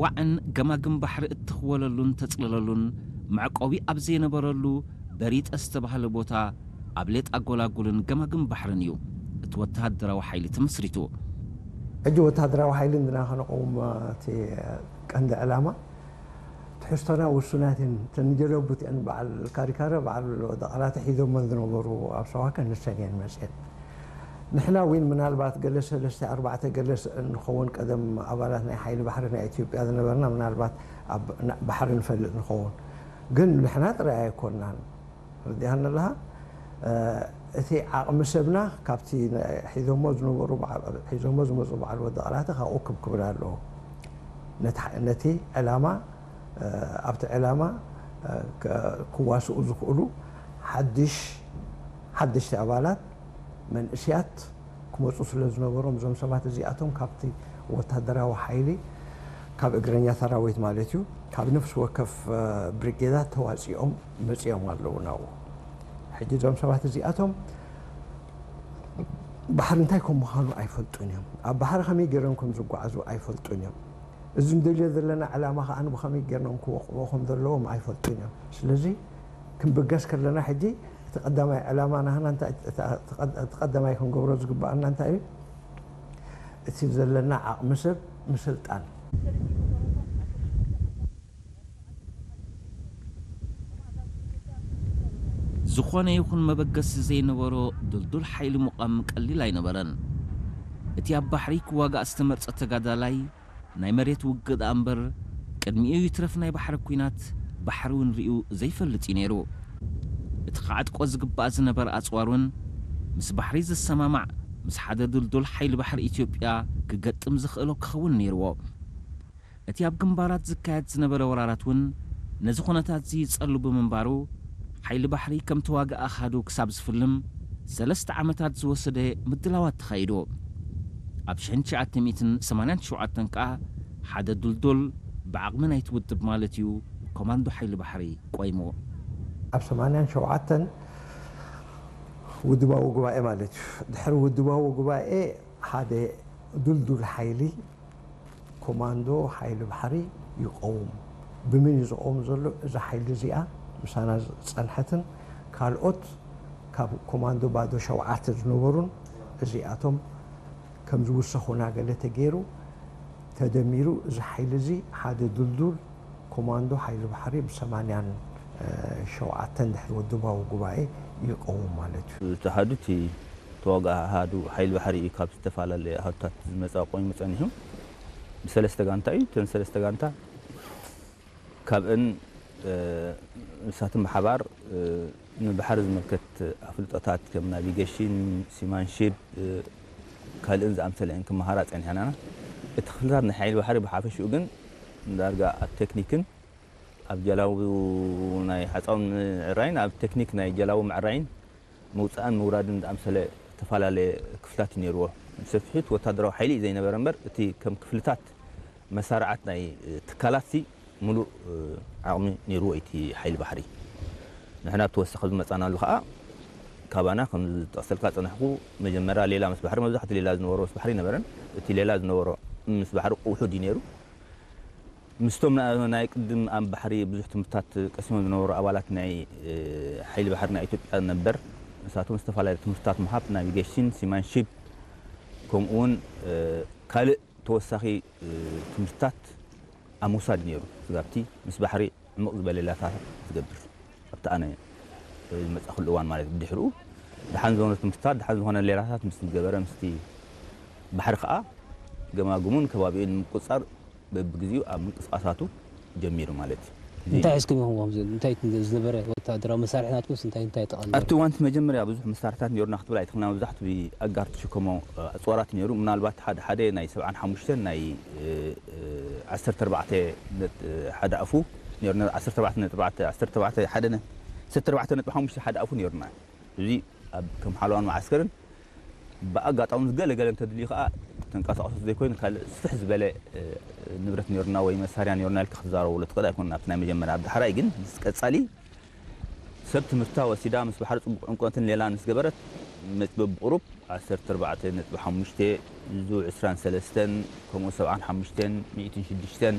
ዋዕን ገማግም ባሕሪ እትኽወለሉን ተጽልለሉን መዕቆቢ ኣብ ዘይነበረሉ በሪጠ ዝተባህለ ቦታ ኣብ ሌጣ ጎላጉልን ገማግም ባሕርን እዩ እቲ ወተሃደራዊ ሓይሊ ተመስሪቱ። ሕጂ ወተሃደራዊ ሓይሊ እንድና ከነቆም እቲ ቀንዲ ዕላማ ትሕዝቶና ውሱናት እየን። እተን ጀለቡት እየን። በዓል ካሪካረ በዓል ወደቓላተ ሒዞመን ዝነበሩ ኣብ ሰዋከ ንሰን እየን መፅየን። ንሕና እውን ምናልባት ገለ ሰለስተ ኣርባዕተ ገለ ንኸውን ቀደም ኣባላት ናይ ሓይሊ ባሕሪ ናይ ኢትዮጵያ ዝነበርና ምናልባት ኣብ ባሕሪ ንፈልጥ ንኸውን። ግን ንሕና ጥራይ ኣይኮንናን። ረዲኣኒ ኣለኻ? እቲ ዓቕሚ ሰብና ካብቲ ሒዞሞ ዝነበሩ ሒዞሞ ዝመፁ በዓል ወደቓላተ ካብኡ ክብ ክብል ኣለዎ። ነቲ ዕላማ ኣብቲ ዕላማ ክዋስኡ ዝኽእሉ ሓድሽ ሓደሽቲ ኣባላት መንእስያት ክመፁ ስለ ዝነበሮም እዞም ሰባት እዚኣቶም ካብቲ ወታደራዊ ሓይሊ ካብ እግረኛ ሰራዊት ማለት እዩ ካብ ነፍሲ ወከፍ ብሪጌዳት ተዋፂኦም መፂኦም ኣለዉ ናብኡ። ሕጂ እዞም ሰባት እዚኣቶም ባሕሪ እንታይ ከም ምዃኑ ኣይፈልጡን እዮም። ኣብ ባሕሪ ከመይ ገይሮም ከም ዝጓዓዙ ኣይፈልጡን እዮም። እዚ ንደልዮ ዘለና ዕላማ ከዓ ብኸመይ ገይሮም ክወቕዕዎ ከም ዘለዎም ኣይፈልጡን እዮም። ስለዚ ክንብገስ ከለና ሕጂ እቲ ቀዳማይ ዕላማ ናህና እንታይ እቲ ቀዳማይ ክንገብሮ ዝግባኣና እንታይ እዩ? እቲ ዘለና ዓቕሚ ሰብ ምስልጣን። ዝኾነ ይኹን መበገሲ ዘይነበሮ ድልዱል ሓይሊ ምቋም ቀሊል ኣይነበረን። እቲ ኣብ ባሕሪ ክዋጋእ ዝተመርጸ ተጋዳላይ ናይ መሬት ውግእ ደኣ እምበር ቅድሚኡ ይትረፍ ናይ ባሕሪ ኲናት ባሕሪ እውን ርእዩ ዘይፈልጥ እዩ ነይሩ። እቲ ክዓጥቆ ዝግባእ ዝነበረ ኣጽዋር እውን ምስ ባሕሪ ዝሰማማዕ ምስ ሓደ ድልዱል ሓይሊ ባሕሪ ኢትዮጵያ ክገጥም ዝኽእሎ ክኸውን ነይርዎ። እቲ ኣብ ግንባራት ዝካየድ ዝነበረ ወራራት እውን ነዚ ኩነታት እዚ ይጸሉ ብምንባሩ ሓይሊ ባሕሪ ከም ተዋጋኢ ኣሃዱ ክሳብ ዝፍልም ሰለስተ ዓመታት ዝወሰደ ምድላዋት ተኻይዱ። ኣብ ሽሕን ትሽዓተ ሚእትን ሰማንያን ሸውዓተን ከኣ ሓደ ዱልዱል ብዓቕሚ ናይቲ ውድብ ማለት እዩ ኮማንዶ ሓይሊ ባሕሪ ቆይሙ። ኣብ ሰማንያን ሸውዓተን ውድባዊ ጉባኤ ማለት እዩ። ድሕሪ ውድባዊ ጉባኤ ሓደ ዱልዱል ሓይሊ ኮማንዶ ሓይሊ ባሕሪ ይቐውም። ብምን እዩ ዝቐውም ዘሎ? እዛ ሓይሊ እዚኣ ምሳና ዝጸንሐትን ካልኦት ካብ ኮማንዶ ባዶ ሸውዓተ ዝነበሩን እዚኣቶም ከም ዝውሰኹና ገለ ተገይሩ ተደሚሩ እዚ ሓይሊ እዚ ሓደ ድልዱል ኮማንዶ ሓይሊ ባሕሪ ብሰማንያን ሸውዓተን ድሕሪ ውድባዊ ጉባኤ ይቐውም ማለት እዩ። እቲ ኣሃዱ እቲ ተዋጋኢ ኣሃዱ ሓይሊ ባሕሪ እዩ ካብ ዝተፈላለየ ኣሃዱታት ዝመፀ ቆይሙ ፀኒሑ ብሰለስተ ጋንታ እዩ። እተን ሰለስተ ጋንታ ካብእን ንሳትን ብሓባር ንባሕሪ ዝምልከት ኣፍልጦታት ከም ናቪጌሽን፣ ሲማንሺፕ ካልእን ዝኣምሰለ እየን ክመሃራ ፀኒሐን ኣለና። እቲ ክፍልታት ናይ ሓይሊ ባሕሪ ብሓፈሽኡ ግን ዳርጋ ኣብ ቴክኒክን ኣብ ጀላቡ ናይ ሓፃውን ምዕራይን ኣብ ቴክኒክ ናይ ጀላቡ ምዕራይን ምውፃእን ምውራድን ዝኣምሰለ ዝተፈላለየ ክፍልታት እዩ ነይርዎ። ብሰፊሑት ወታደራዊ ሓይሊ እዩ ዘይነበረ እምበር እቲ ከም ክፍልታት መሳርዓት ናይ ትካላት ሲ ሙሉእ ዓቕሚ ነይርዎ እቲ ሓይሊ ባሕሪ። ንሕና ብተወሳኺ ዝመፃናሉ ከዓ ካባና ከም ዝጠቕሰልካ ዝፀናሕኩ መጀመርያ ሌላ ምስ ባሕሪ መብዛሕትኡ ሌላ ዝነበሮ ምስ ባሕሪ ነበረን። እቲ ሌላ ዝነበሮ ምስ ባሕሪ ውሑድ እዩ ነይሩ። ምስቶም ናይ ቅድም ኣብ ባሕሪ ብዙሕ ትምህርትታት ቀሲሞም ዝነበሩ ኣባላት ናይ ሓይሊ ባሕሪ ናይ ኢትዮጵያ ነበር ንሳቶም ዝተፈላለዩ ትምህርትታት ምሃብ ናቪጌሽን፣ ሲማንሺፕ ከምኡ እውን ካልእ ተወሳኺ ትምህርትታት ኣብ ምውሳድ ነይሩ። ስጋብቲ ምስ ባሕሪ ዕምቕ ዝበለ ሌላታት ዝገብር ኣብቲ ኣነ ዝመፃእኩሉ እዋን ማለት እዩ። ብድሕሪኡ ደሓን ዝኾነ ትምህርትታት ደሓን ዝኾነ ሌላታት ምስ ዝገበረ ምስቲ ባሕሪ ከዓ ገማግሙን ከባቢኡን ንምቁፅፃር በብግዚኡ ኣብ ምንቅስቃሳቱ ጀሚሩ ማለት እዩ። እንታይ ሒዝኩም ኢኹም ከምዚ እንታይ ዝነበረ ወታደራዊ መሳርሒ ናትኩምስ እንታይ እንታይ ጠቐም ኣብቲ እዋን እቲ መጀመርያ ብዙሕ መሳርሕታት ነይሩና ክትብል ኣይትኽእልና። መብዛሕቱ ብኣጋር ትሽከሞ ኣፅዋራት ነይሩ። ምናልባት ሓደ ሓደ ናይ ሰብዓን ሓሙሽተን ናይ ዓሰርተ ኣርባዕተ ሓደ ኣፉ ነይሩና። ዓሰርተ ኣርባዕተ ነጥቢ ዓሰርተ ኣርባዕተ ሓደ ነ ዓሰርተ ኣርባዕተ ነጥቢ ሓሙሽተ ሓደ ኣፉ ነይሩና። እዚ ኣብ ከም ሓለዋን መዓስከርን ብኣጋጣሚ ገለ ገለ እንተድልዩ ከዓ ተንቀሳቐሶት ዘይኮይኑ ካልእ ስፍሕ ዝበለ ንብረት ነይሩና ወይ መሳርያ ነይሩና ኢልካ ክትዛረበሉ ትኽእል ኣይኮነን። ኣብቲ ናይ መጀመርያ ኣብ ዳሕራይ ግን ምስ ቀፃሊ ሰብ ትምህርታ ወሲዳ ምስ ባሕሪ ፅቡቕ ዕምቆትን ሌላን ምስ ገበረት መፅ በብቑሩብ ዓሰርተ ኣርባዕተ ነጥቢ ሓሙሽተ ዙ ዕስራን ሰለስተን ከምኡ ሰብዓን ሓሙሽተን ሚእትን ሽዱሽተን